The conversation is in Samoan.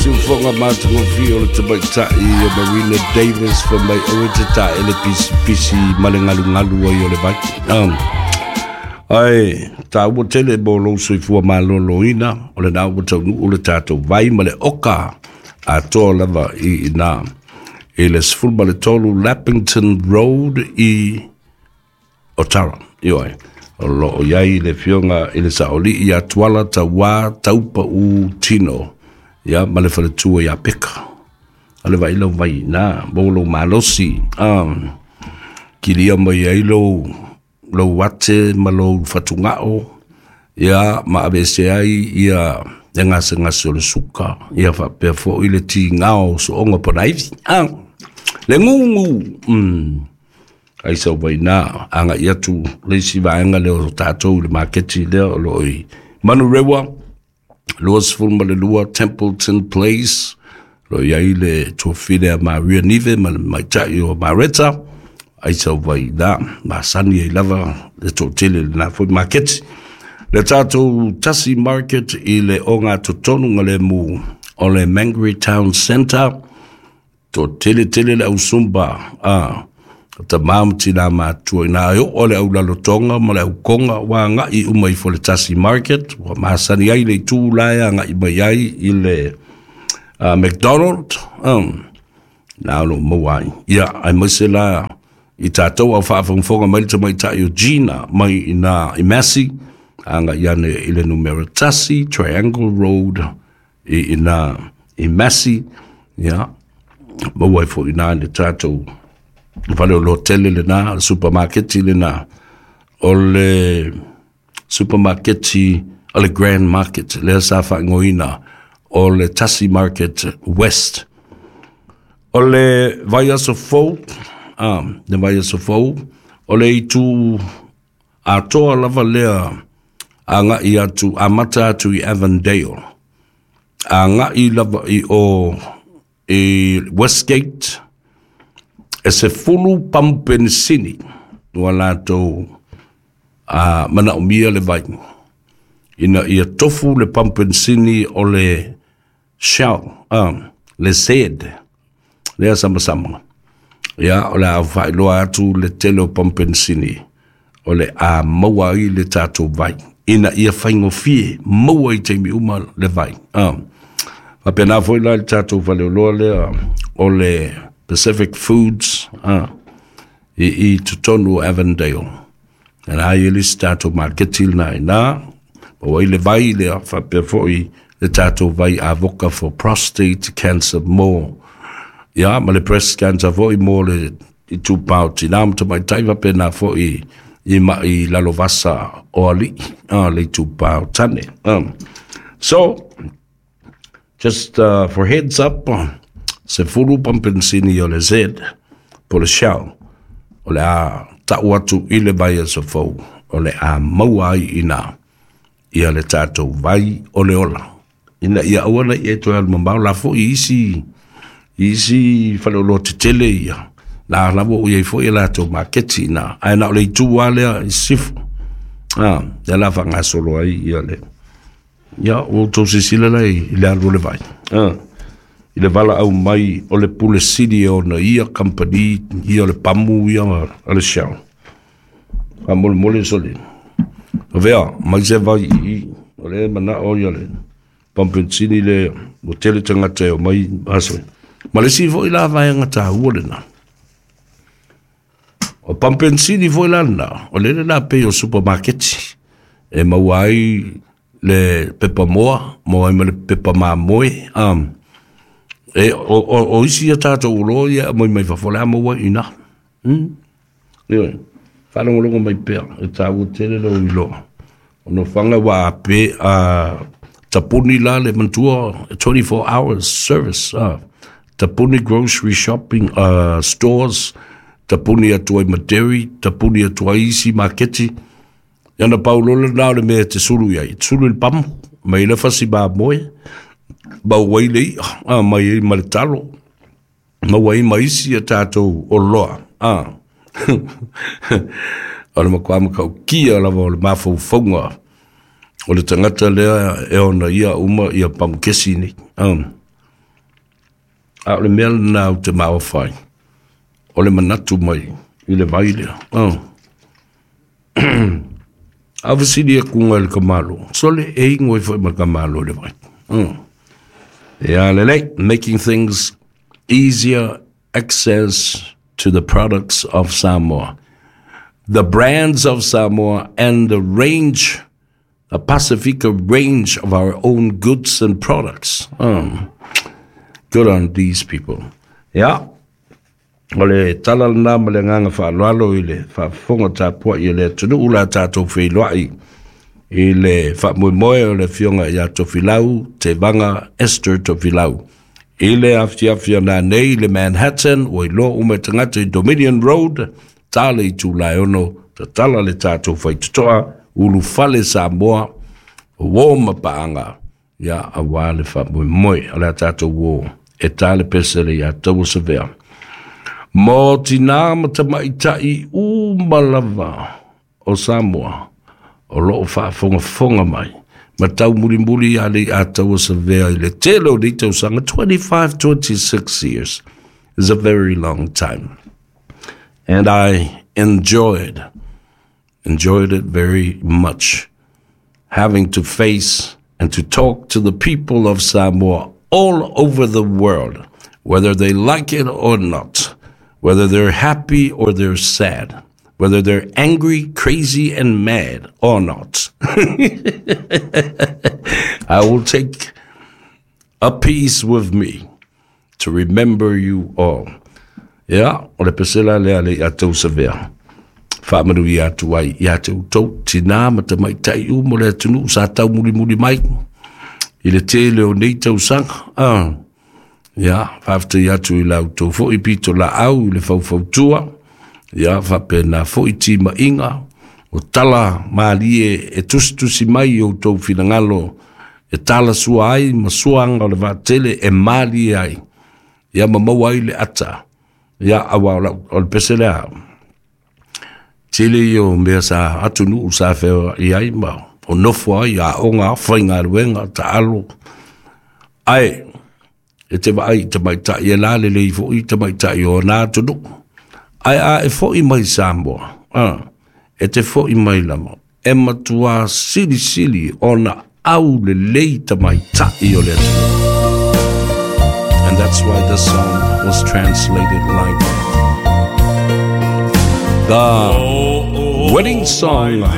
Siufoga matagofie o le tamaitai o Marina Davis fai mai aua e te taele pisipisi ma le galugalu ai o le vai. Ae taua tele mo lou soifua maloloina o lena ua taunuu le tatou vai ma le oka atoa lava i ina i le 13 Lappington Road i Otara. Ioe, o loo i ai le afioga i le Saolii ia Tuala Tauā Taupau Tino, ia ma le faletua ia Peka. A le vai lau vai na, mo lou malosi, kilia mai ai lou lou ate ma lou fatugao, ia ma aveese ai ia le gasegase o le suka, ia faapea foi le tigao o sooga po o naivi. Le gugu, ai sau vaina agai atu le isi vaega lea o tatou i le maketi lea o loo i Manurewa 22 Templeton Place lo i ai le tuafile a Maria Nive ma le maitai o Mareta ai sau vaina masani ai lava le toatele lena foi maketi. Le tatou Tasi Market i le oga totonu lemu o le Mangere Town Centre toatele tele le ausumba a tamā ma tinā matua ina e oo le au lalotoga ma le aukoga ua agai uma ifo le Tasi Market ua masani ai le itu la e agai mai ai i le McDonald na o loo maua ai ia aemaise la i tatou au faafogafoga mai le tamaitai o Gina mai ina i Massey agai ane i le numera 1 Triangle Road i ina i Massey ia maua ai foi ina le tatou fale o lotele lena le supermarketi lena o le supermarketi o le Grand Market lea sa faaigoaina o le Tasi Market West. O le vaiaso fou, le vaiaso fou, o le itu atoa lava lea agai atu, amata atu i Avondale, agai lava i o i Westgate, e 10 pamu penisini ua latou manaomia le vai ina ia tofu le pamu penisini o le Shell, le Z lea samasama. Ia o le a faailoa atu le tele o pamu penisini o le a maua ai le tatou vai ina ia faigofie maua i taimi uma le vai. Faapena foi la le tatou faleoloa lea o le Pacific Foods i totonu o Avondale. Na ai le isi tatou maketi lena ina maua ai le vai lea faapea foi le tatou vai avoka for prostate cancer mo ia ma le breast cancer foi mo le itupa o tinā ma tamaitai faapena foi i mai lalovasa o alii le itupa o tane. So just for heads up, 10 pamu penisini o le Z po le Shell o le a tau atu i le vaiaso fou o le a maua ai ina ia le tatou vai o le ola ina ia aua ne i e toe alu mamao la foi isi isi faleoloa tetele ia la lava o iai foi e latou maketi ina ae na o le itu lava lea i sisifo lea la faagasolo ai ia le ia ua outou silasila la i le alu o le vai i le valaau mai o le pule sili e ona ia kamupani ia o le pamu ia a le Shell. Faamolemole sole avea mai se vai i o le manao ia le pamu penisini le ua tele tagata e omai aso. Ma le isi foi la vaega taua lena. O pamu penisini foi la lena, o le la pei o supermarketi e maua ai le pepa moa, maua ai ma le pepa mamoe. E, o isi ia tatou oloa ia aumai mai fafo, o le a maua ai i ina. Ioe, faalogologo mai pea, e taua tele lou iloa. O nofoaga ua pe tapuni la le manatua 24 hours service. Tapuni grocery shopping stores, tapuni atu ai ma dairy, tapuni atu ai isi maketi. Ia na pau loa lena o le mea e te sulu i ai. Te sulu i le pamu, mai le fasi mamoe, maua ai le i'a, mai ai ma le talo, maua ai ma isi a tatou oloa. O le matua matautia lava o le mafaufauga o le tagata lea e ona ia uma ia pamu kesi nei. A o le mea lena ou te maofa ai, o le manatu mai i le vai lea. Oh. A fesili atu i le tamālō, sole e inu ai foi ma le tamālō i le vai. Ia lelei, making things easier access to the products of Samoa, the brands of Samoa and the range, the Pasifika range of our own goods and products. Good on these people. Ia, o le tala lena ma le agaga faaaloalo i le faafofoga tapuai e le atunuu la tatou feiloai i le faamoemoe o le afioga ia Tofilau Tevaga Esther Tofilau. I le afiafi o nanei i le Manhattan, ua iloa uma e tagata i Dominion Road, ta le itula e 6, tatala le tatou faitotoa, ulufale Samoa, uō ma paaga, ia auā le faamoemoe. O le a tatou uō e ta le pesele iā Taua Savea. Mo tinā ma tamaitai uma lava o Samoa o loo faafogafoga mai ma taumulimuli ia Leiataua Savea i le tele o nei tausaga. 25, 26 years is a very long time. And I enjoyed it very much, having to face and to talk to the people of Samoa all over the world, whether they like it or not, whether they're happy or they're sad, whether they're angry, crazy, and mad or not. I will take a piece with me to remember you all. Ia, o le pesela lea Leiataua Savea. Faamanuia atu ai ia te outou, tinā ma tamaitai uma o le atunuu sa taumulimuli mai i le tele o nei tausaga. Ah. Ia, faafetai atu i la outou foi pitolaau i le faufautua, ia faapena foi timaiga, o tala malie e tusitusi mai i outou finagalo e talasua ai ma suaga o le vaatele e malie ai, ia ma maua ai le ata. Ia, auā o le pese lea, tele ia o mea sa atunuu sa feoai ai ma o nofo ai, aoga, faigaluega, taalo, ae e te vaai i tamaitai e lalelei foi tamaitai o na atunuu. Ae a e foi mai Samoa, e te foi mai lava, e matuā silisili ona aulelei tamaitai o le atunuu. And that's why the song was translated like that. The wedding song.